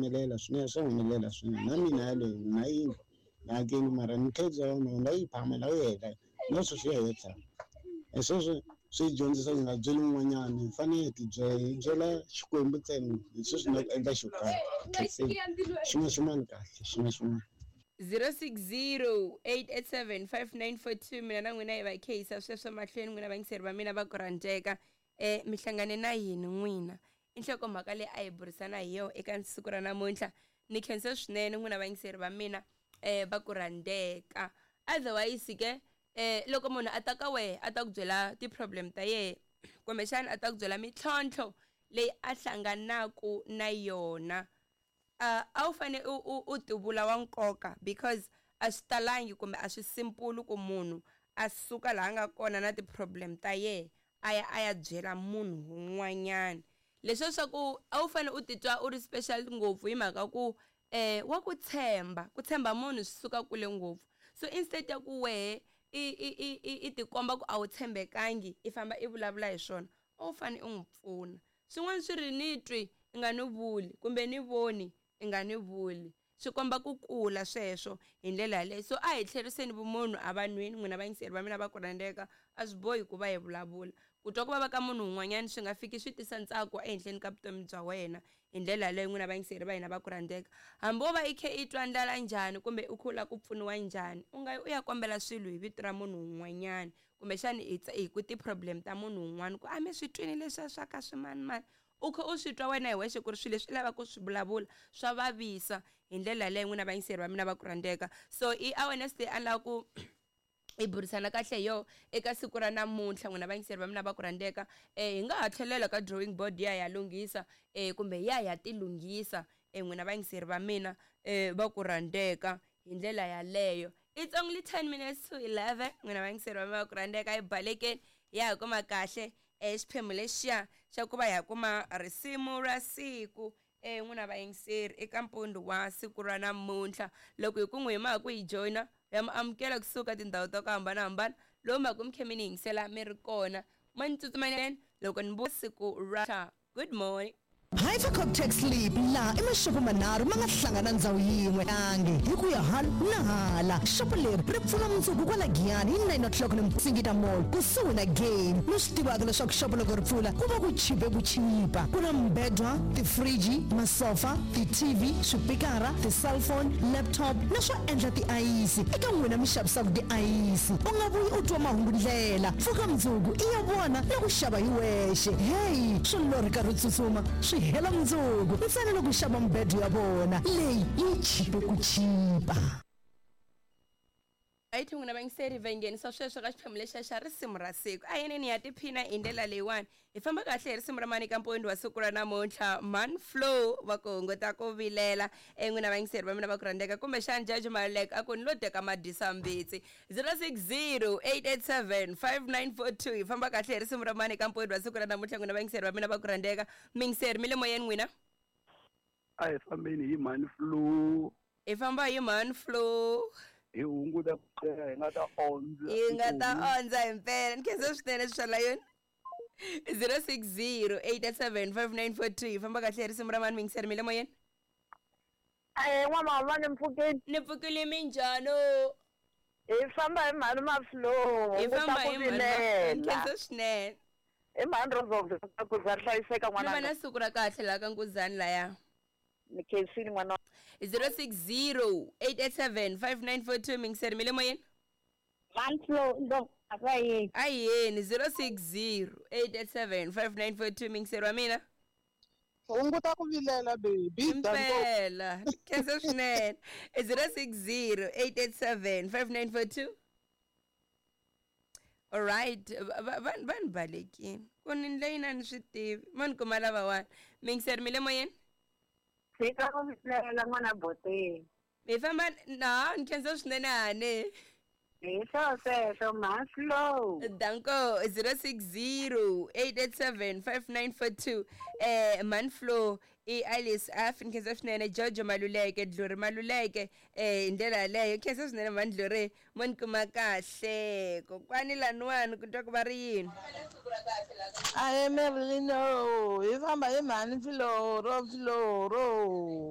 humelela swinene, swa humelela swinene. Na mina yaleyo na yini na hakeli mara ni khensa yona na yi phamela yi heta na sweswi ya heta. Hi sweswo swi hi dyondzisa hi nga byeli un'wanyana hi fanele hi tibyela hi byela Xikwembu ntsena hi sweswi na ku endla xo karhi. Khensile xin'wana xin'wana kahle xin'wana xin'wana. 060 887 5942 mina na n'wina hi va khehisa sweswo mahlweni n'wina vayingiseri va mina va ku rhandzeka mi hlangane na yini n'wina i nhlokomhaka leyi a hi burisana hi yona eka siku ra namuntlha ni khensa swinene n'wina vayingiseri va mina va ku rhandzeka otherwise ke loko munhu a ta ka wehe a ta ku byela ti-problem ta yehe kumbexana a ta ku byela mintlhontlho leyi a hlanganaku na yona a wu fane u tivula wa nkoka because a swi talangi kumbe a swi simple ku munhu a suka laha nga kona na ti-problem ta yehe a ya a ya byela munhu un'wanyana leswiya swa ku a wu fane u titwa u ri special ngopfu hi mhaka ku wa ku tshemba ku tshemba munhu swi suka kule ngopfu so instead ya ku wehe i tikomba ku a wu tshembekangi i famba i vulavula hi swona a wu fane u n'wi pfuna swin'wana swi ri ni twi i nga ni vuli kumbe ni voni i nga ni vuli swi komba ku kula sweswo hi ndlela yaleyo so a hi tlheriseni vumunhu evanhwini n'wina vayingiseri va mina va ku rhandzeka a swi bohi ku va hi vulavula ku twa ku vava ka munhu un'wanyana swi nga fiki swi tisa ntsako ehenhleni ka vutomi bya wena hi ndlela yaleyo n'wina vayingiseri va hina va ku rhandzeka hambi wo va i khe i twa ndlala njhani kumbe u khe u lava ku pfuniwa njhani u nga yi u ya kombela swilo hi vito ra munhu un'wanyana kumbexani hi ku ti-problem ta munhu un'wana ku a mi swi twini leswiya swa ka swimanimani u khe u swi twa wena hi wexe ku ri swilo leswi u lavaka ku swi vulavula swa vavisa hi ndlela yaleyo n'wina vayingiseri va mina va ku rhandzeka so i awareness leyi a ni lava ku hi burisana kahle hi yona eka siku ra namuntlha n'wina vayingiseri va mina va ku rhandzeka hi nga ha tlhelela ka drawing board ya ya lunghisa kumbe ya ya tilunghisa n'wina vayingiseri va mina va ku rhandzeka hi ndlela yaleyo. It's only 10 minutes to 11 n'wina vayingiseri va mina va ku rhandzeka hi balekeni ya ha kuma kahle xiphemu lexiya xa ku va hi ya kuma risimu ra siku n'wina vayingiseri eka mpundzu wa siku ra namuntlha loko hi ku n'wi hi mhaka ku hi joyina ya mi amukela kusuka tindhawu ta ku hambanahambana lowu mhaka mi khe mi ni yingisela mi ri kona ma ni tsutsumanyana loko ni siku ra good morning. Hypercop Tax Sleep laha i maxopo manharhu ma nga hlangana ndhawu yin'we angi hi ku ya hala na hala. Xopo leri ri pfula mundzuku kwala Giyani hi 9 o'clock ni Singita Mall kusuhi na Game. Mi swi tivaka leswaku xopo loko ri pfula ku va ku chipe ku chipa. Ku na mibedwa, tifriji, masofa, ti-TV, swipikara, ti-cellphone, laptop na swo endla tiayisi. Eka n'wina mi xavisaka tiayisi, u nga vuyi u twa mahungu ndlela. Pfuka mundzuku i ya vona na ku xava hi wexe. Heyi, swo lorhi karhi u tsutsuma swi hela mundzuku ntsena loko u xava mibedo ya vona leyi yi chipe ku chipa. Right n'wina vayingiseri va nghenisa sweswo ka xiphemu lexiya xa risimu ra siku a yeneni ya tiphina hi ndlela leyiwani hi famba kahle hi risimu ra mani ka mpondho wa siku ra namuntlha man flow va ku hunguta ku vilela n'wina vayingiseri va mina va ku rhandzeka kumbexani jaji Maluleke a ku ni lo teka madyisa mbitsi 060 887 5942 hi famba kahle hi risimu ra mani ka mpondho wa siku ra namuntlha n'wina vayingiseri va mina va ku rhandzeka miyingiseri mi le moyeni n'wina a hi fambeni hi mani flow hi famba hi mani flow hi hunguta ku hi nga ta ondza hi nga ta ondza hi mpela ni khensa swinene swi swa yona 060 887 5942 hi famba kahle hi risimu ra mani miyingiseri mi le moyeni Ahee n'wamama ni mpfukile. Ni pfukile minjhani? Hi famba hi mhani Maflow. Hi famba hi mhani Maflow. Nkhensa swinene. Hi mhani Rosa ku za hlayiseka Ni va n'wananga. na siku ra kahle laha ka Nkuzani laya. Ni khensile n'wana. 060 887 5942 miyingiseri mi le moyeni? Mhani Flow ndo a yini? A yeni 060 887 5942 miyingiseri wa mina. Hunguta ku vilela baby. Impela. Khensa swinene. 060 887 5942. All right, va ni balekile. Ku ni ndlela yini a ni swi tivi. Ma ni kuma lavawani. Miyingiseri mi le moyeni? Tshika ku vilela n'wana boteni. Mi famba na ni khensa swinene hane. Hi swo sweswo mhani Flow. Danko 060 887 5942 Man Flow i Alice F ni khensa swinene Jojo Maluleke Dluri Maluleke hi ndlela yaleyo khensa swinene mani Dluri mo ni kuma kahle kokwani laniwani ku twa ku va ri yini Ahee Merlino hi famba hi mhani Flow ro Flow ro.